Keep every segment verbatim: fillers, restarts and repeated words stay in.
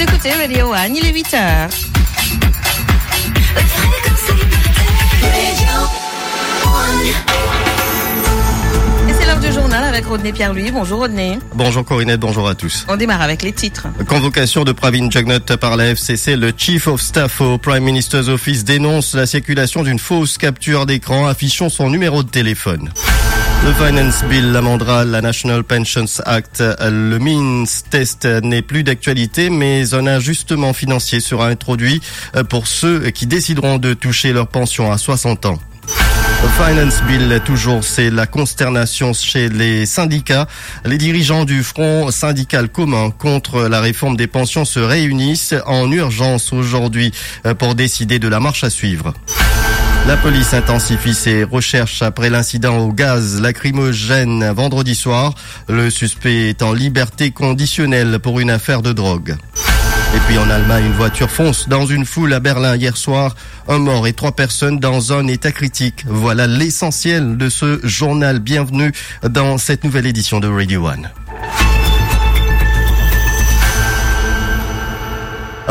Écoutez Radio One, il est huit heures. Et c'est l'heure du journal avec Rodney Pierre-Louis. Bonjour Rodney. Bonjour Corinette, bonjour à tous. On démarre avec les titres. Convocation de Pravin Jugnauth par la F C C, le Chief of Staff au Prime Minister's Office dénonce la circulation d'une fausse capture d'écran affichant son numéro de téléphone. Le Finance Bill amendera la National Pensions Act. Le means test n'est plus d'actualité, mais un ajustement financier sera introduit pour ceux qui décideront de toucher leur pension à soixante ans. Finance Bill, toujours, c'est la consternation chez les syndicats. Les dirigeants du Front syndical commun contre la réforme des pensions se réunissent en urgence aujourd'hui, euh, pour décider de la marche à suivre. La police intensifie ses recherches après l'incident au gaz lacrymogène vendredi soir. Le suspect est en liberté conditionnelle pour une affaire de drogue. Et puis en Allemagne, une voiture fonce dans une foule à Berlin hier soir. Un mort et trois personnes dans un état critique. Voilà l'essentiel de ce journal. Bienvenue dans cette nouvelle édition de Radio One.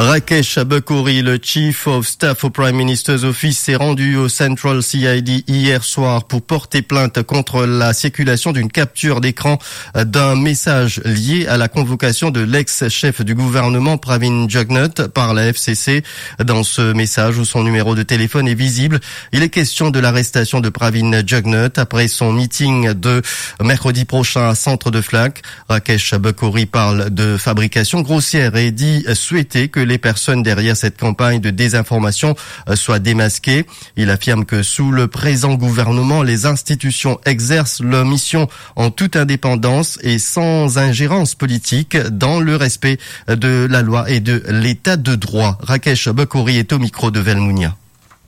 Rakesh Bakori, le Chief of Staff au Prime Minister's Office, s'est rendu au Central C I D hier soir pour porter plainte contre la circulation d'une capture d'écran d'un message lié à la convocation de l'ex-chef du gouvernement Pravin Jugnauth par la F C C. Dans ce message où son numéro de téléphone est visible, il est question de l'arrestation de Pravin Jugnauth après son meeting de mercredi prochain à Centre de Flacq. Rakesh Bakori parle de fabrication grossière et dit souhaiter que les personnes derrière cette campagne de désinformation, euh, soient démasquées. Il affirme que sous le présent gouvernement, les institutions exercent leur mission en toute indépendance et sans ingérence politique, dans le respect de la loi et de l'état de droit. Rakesh Bakori est au micro de Velmounia.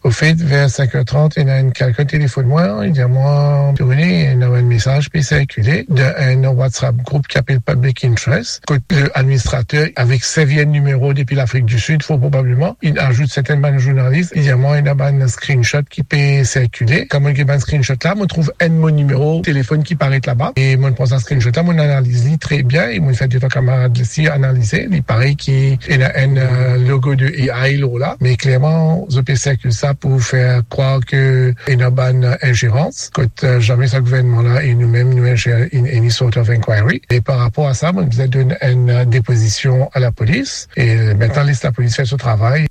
Au fait, vers cinq heures trente, ena enn kelkenn telefonn mwa, li dir mwa, "Tony, ena enn mesaz pe sirkile dan enn WhatsApp group ki apel Public Interest, kot ladministrater avek servi enn nimero depi Lafrik di Sid, fort probableman, inn azout sertin bann zournalis." Li dir mwa, "Ena bann screenshot ki pe sirkile." Kan mo'nn get bann screenshot la, mo'nn trouv enn mo nimero telefonn ki paret laba. E mo'nn pran sa screenshot la, mo'nn analiz li tre bien, e mo'nn fer de-trwa kamarad osi analize. Li parey ki ena enn, euh, logo de A I lor la, me klerman, zot pe sirkil sa pou fer krwar ke ena bann, euh, injerans, kot, euh, zame sa gouvernman la e noumem nou injer-, in any sort of inquiry. E par rapor a sa, mo'nn bizin donn enn, euh, depozision a lapolis, e, euh, aster les lapolis fer so travay.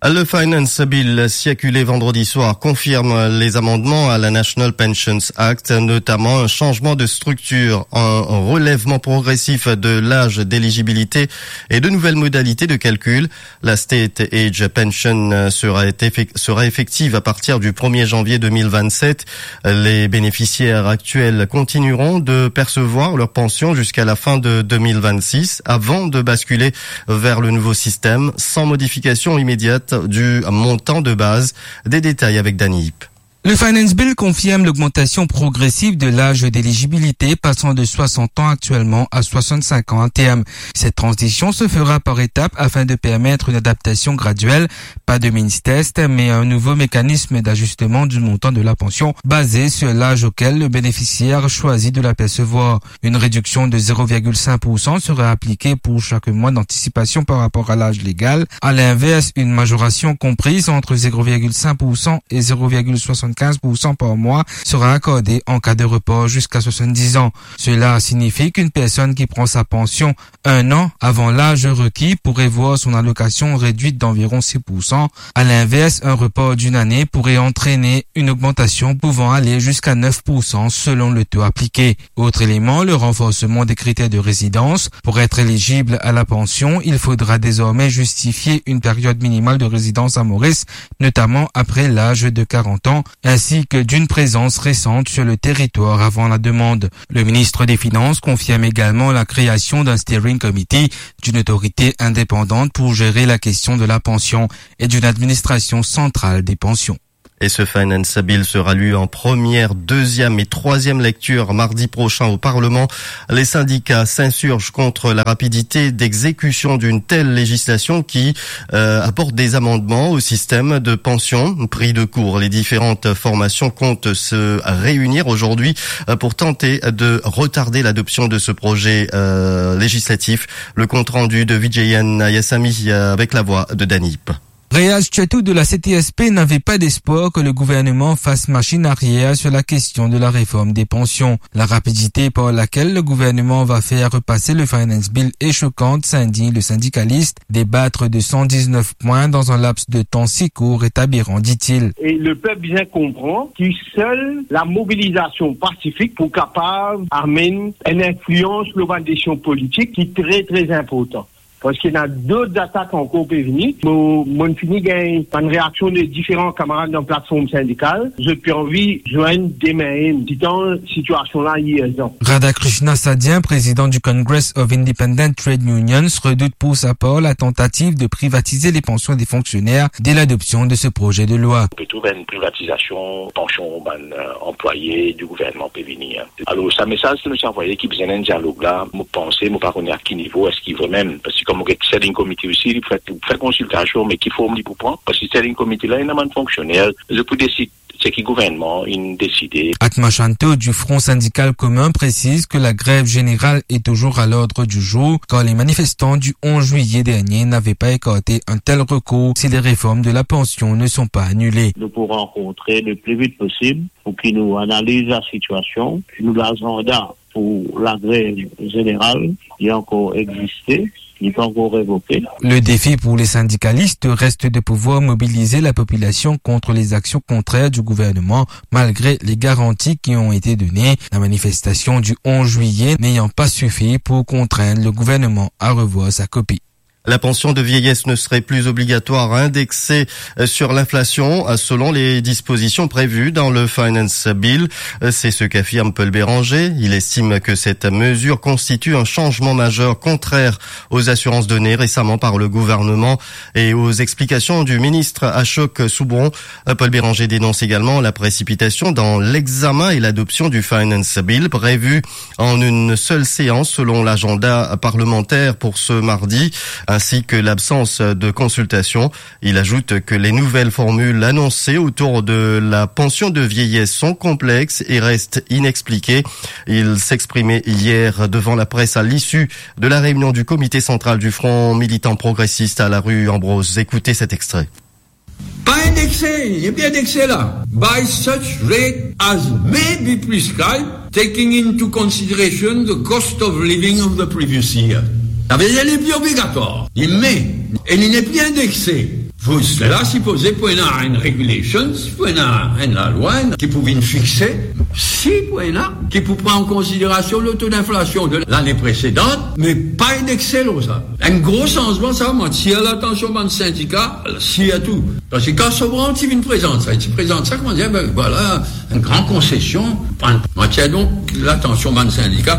Le Finance Bill circulé vendredi soir confirme les amendements à la National Pensions Act, notamment un changement de structure, un relèvement progressif de l'âge d'éligibilité et de nouvelles modalités de calcul. La State Age Pension, euh, sera, effec-, sera effective à partir du premier janvier deux mille vingt-sept. Les bénéficiaires actuels continueront de percevoir leur pension jusqu'à la fin de deux mille vingt-six, avant de basculer vers le nouveau système, sans modification immédiate du montant de base. Des détails avec Dany Ip. Le Finance Bill confirme l'augmentation progressive de l'âge d'éligibilité, passant de soixante ans actuellement à soixante-cinq ans à terme. Cette transition se fera par étapes afin de permettre une adaptation graduelle. Pas de means test, mais un nouveau mécanisme d'ajustement du montant de la pension basé sur l'âge auquel le bénéficiaire choisit de l'apercevoir. Une réduction de zéro virgule cinq pour cent sera appliquée pour chaque mois d'anticipation par rapport à l'âge légal. À l'inverse, une majoration comprise entre zéro virgule cinq pour cent et zéro virgule soixante-quinze pour cent par mois sera accordée en cas de report jusqu'à soixante-dix ans. Cela signifie qu'une personne qui prend sa pension un an avant l'âge requis pourrait voir son allocation réduite d'environ six pour cent. À l'inverse, un report d'une année pourrait entraîner une augmentation pouvant aller jusqu'à neuf pour cent selon le taux appliqué. Autre élément, le renforcement des critères de résidence. Pour être éligible à la pension, il faudra désormais justifier une période minimale de résidence à Maurice, notamment après l'âge de quarante ans, ainsi que d'une présence récente sur le territoire avant la demande. Le ministre des Finances confirme également la création d'un steering committee, d'une autorité indépendante pour gérer la question de la pension et d'une administration centrale des pensions. Et ce Finance Bill sera lu en première, deuxième et troisième lecture mardi prochain au Parlement. Les syndicats s'insurgent contre la rapidité d'exécution d'une telle législation qui, euh, apporte des amendements au système de pension pris de court. Les différentes formations comptent se réunir aujourd'hui, euh, pour tenter de retarder l'adoption de ce projet, euh, législatif. Le compte-rendu de Vijay Nayasamy, euh, avec la voix de Dany Ip. Reyaz Chetou de la C T S P n'avait pas d'espoir que le gouvernement fasse machine arrière sur la question de la réforme des pensions. La rapidité par laquelle le gouvernement va faire repasser le Finance Bill est choquante, s'indigne le syndicaliste. Débattre de cent dix-neuf points dans un laps de temps si court est aberrant, dit-il. E lepep bizin konpran ki sel lamobilizasion pasifik pou kapav amenn enn inflians lor bann desizion politik ki tre, tre inportan. Parski ena dot zatak ankor pe vini. Mo, mo'nn fini gagn bann reaksion de diferan kamarad dan platform sindikal. Zot pe anvi zwenn demin mem, sitan sitiasion la irzan. Radhakrishna Sadyan, président du Congress of Independent Trade Unions, redoute pour sa part la tentative de privatiser les pensions des fonctionnaires dès l'adoption de ce projet de loi. Ou pe trouv enn privatizasion pansion bann, euh, anplwaye di gouvernman pe vini, hein. Alor, sa mesaz ki nou ti anvoye ki bizin enn dialog la, mo panse, mo pa kone a ki nivo, eski vremem, parski kouma get standing committee osi, li pou fer, fer konsiltasion, me ki form li pou pran? Parski standing committee la, ena bann fonksioner, zot pou desid seki gouvernman inn deside. Atma Shanto du Front Syndical Commun précise que la grève générale est toujours à l'ordre du jour, car les manifestants du onze juillet dernier n'avaient pas écarté un tel recours si les réformes de la pension ne sont pas annulées. Nou pou rankontre le pli vit posib pou ki nou analiz lasitiasion, ki nou lazanda pou lagrev zeneral, li ankor existe, li pa ankor revoke. Le défi pour les syndicalistes reste de pouvoir mobiliser la population contre les actions contraires du gouvernement, malgré les garanties qui ont été données, la manifestation du onze juillet n'ayant pas suffi pour contraindre le gouvernement à revoir sa copie. La pension de vieillesse ne serait plus obligatoire à indexer, euh, sur l'inflation, euh, selon les dispositions prévues dans le Finance Bill. Euh, c'est ce qu'affirme Paul Bérenger. Il estime que cette mesure constitue un changement majeur contraire aux assurances données récemment par le gouvernement et aux explications du ministre Ashok Soubron. Euh, Paul Bérenger dénonce également la précipitation dans l'examen et l'adoption du Finance Bill prévu en une seule séance selon l'agenda parlementaire pour ce mardi, ainsi que l'absence de consultation. Il ajoute que les nouvelles formules annoncées autour de la pension de vieillesse sont complexes et restent inexpliquées. Il s'exprimait hier devant la presse à l'issue de la réunion du comité central du Front militant progressiste à la rue Ambrose. Écoutez cet extrait. Pa indekse, li pa indekse la. By such rate as may be prescribed, taking into consideration the cost of living of the previous year. Savedir li pli obligatwar, li may, e li nepli indekse. Pou sela, sipoze pou ena enn regulations, pou ena enn lalwa, enn ki pou vinn fixe, si pou ena, ki pou pran an konsiderasion le to dinflasion de lane presedan, me pa indekse lor sa. Enn gro sanzman sa, mo atir latansion bann sindika, sirtou. Parski kan Soubron ti vinn prezant sa, li ti prezant sa, kouma dir, ben, vwala, enn gran konsesion, mo atir donk latansion bann sindika.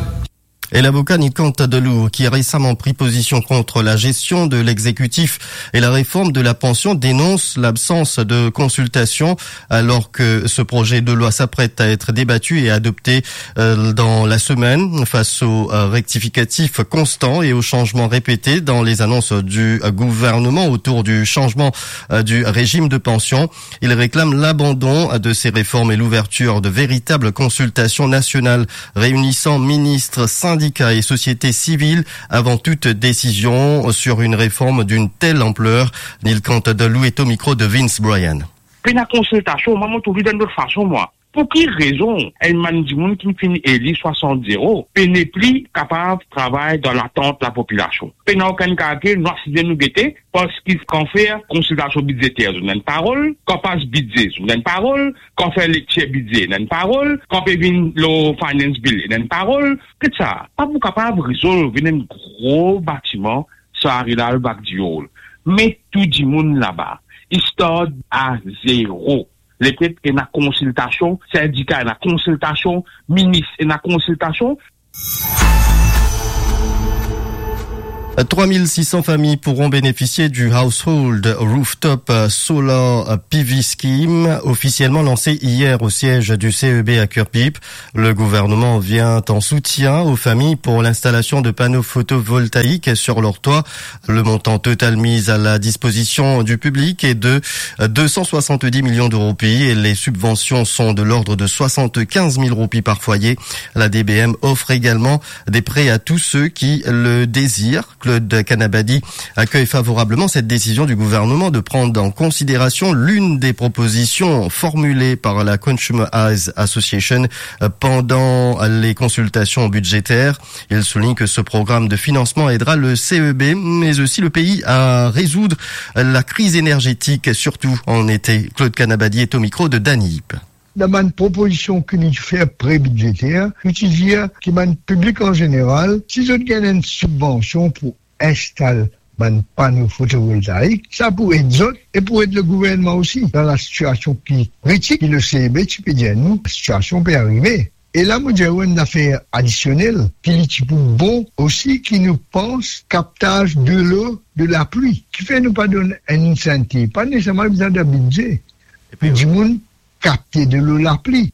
Et l'avocat Nicante Deloue, qui a récemment pris position contre la gestion de l'exécutif et la réforme de la pension, dénonce l'absence de consultation alors que ce projet de loi s'apprête à être débattu et adopté, euh, dans la semaine. Face aux, euh, rectificatifs constants et aux changements répétés dans les annonces du, euh, gouvernement autour du changement, euh, du régime de pension, il réclame l'abandon de ces réformes et l'ouverture de véritables consultations nationales réunissant ministres, syndicats et société civile avant toute décision sur une réforme d'une telle ampleur. Nicante Deloue est au micro de Vince Bryan. Pena konsiltasion, mwa, mo trouv li dan lot fason, mwa. Pou ki rezon enn bann dimoun ki finn eli swasant zero pe nepli kapav travay dan latant lapopilasion? Pena okenn kalkil, nou asize nou gete, parski kan fer konsiltasion bidzeter, zot nena enn parol, kan pas bidze, zot nena enn parol, kan fer lektir bidze, nena enn parol, kan pe vinn lor finance bill, nena enn parol. Get sa, pa pou kapav rezolv enn gro batiman, sa Rilal Bagdiol. Met tou dimoun laba, i start a zero. Lepep ena konsiltasion, sindika ena konsiltasion, minis ena konsiltasion. Trois mille six cents familles pourront bénéficier du Household Rooftop Solar P V Scheme, officiellement lancé hier au siège du C E B à Curepipe. Le gouvernement vient en soutien aux familles pour l'installation de panneaux photovoltaïques sur leur toit. Le montant total mis à la disposition du public est de deux cent soixante-dix millions de roupies et les subventions sont de l'ordre de soixante-quinze mille roupies par foyer. La D B M offre également des prêts à tous ceux qui le désirent. Claude Kanabadi accueille favorablement cette décision du gouvernement de prendre en considération l'une des propositions formulées par la Consumer Eyes Association, euh, pendant les consultations budgétaires. Il souligne que ce programme de financement aidera le C E B, mais aussi le pays à résoudre la crise énergétique, surtout en été. Claude Kanabadi est au micro de Dany Ip. Dan bann propozision ki nou ti fer pre-bidzeter, nou ti dir ki bann piblik an zeneral, si zot gagn enn sibvansion pou instal bann pano fotovoltaik, sa pou ed zot e pou ed le gouvernman osi dan la sitiasion ki kritik, ki le C E B ti pe dir nou, sitiasion pe arive. E la, mo dir ou enn zafer adisionel, ki li ti pou bon osi, ki nou pans kaptaz delo de lapli. Kifer nou pa donn enn insentiv, pa neseserman bizin dan bidze, epi pou dimoun kapte delo lapli.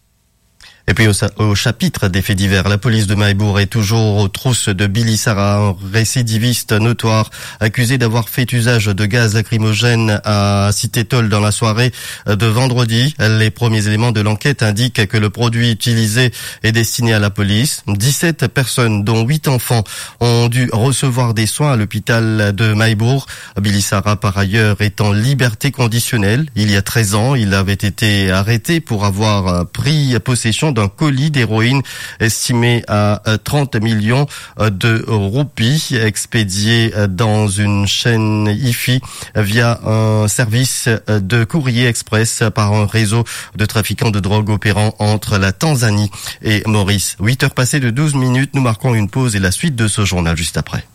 Et puis au, sa- au chapitre des faits divers, la police de Maïbourg est toujours aux trousses de Billy Sarah, un récidiviste notoire accusé d'avoir fait usage de gaz lacrymogène à Cité Tôle dans la soirée de vendredi. Les premiers éléments de l'enquête indiquent que le produit utilisé est destiné à la police. Dix-sept personnes, dont huit enfants, ont dû recevoir des soins à l'hôpital de Maïbourg. Billy Sarah, par ailleurs, est en liberté conditionnelle. Il y a treize ans, il avait été arrêté pour avoir, euh, pris possession d'un colis d'héroïne estimé à, euh, trente millions, euh, de roupies, expédié, euh, dans une chaîne hi-fi via un service, euh, de courrier express par un réseau de trafiquants de drogue opérant entre la Tanzanie et Maurice. Huit heures passées de douze minutes, nous marquons une pause et la suite de ce journal juste après.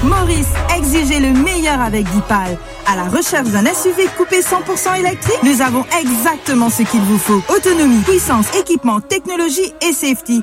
Maurice, exigez le meilleur avec Dipal. À la recherche d'un S U V coupé cent pour cent électrique ? Nous avons exactement ce qu'il vous faut. Autonomie, puissance, équipement, technologie et safety.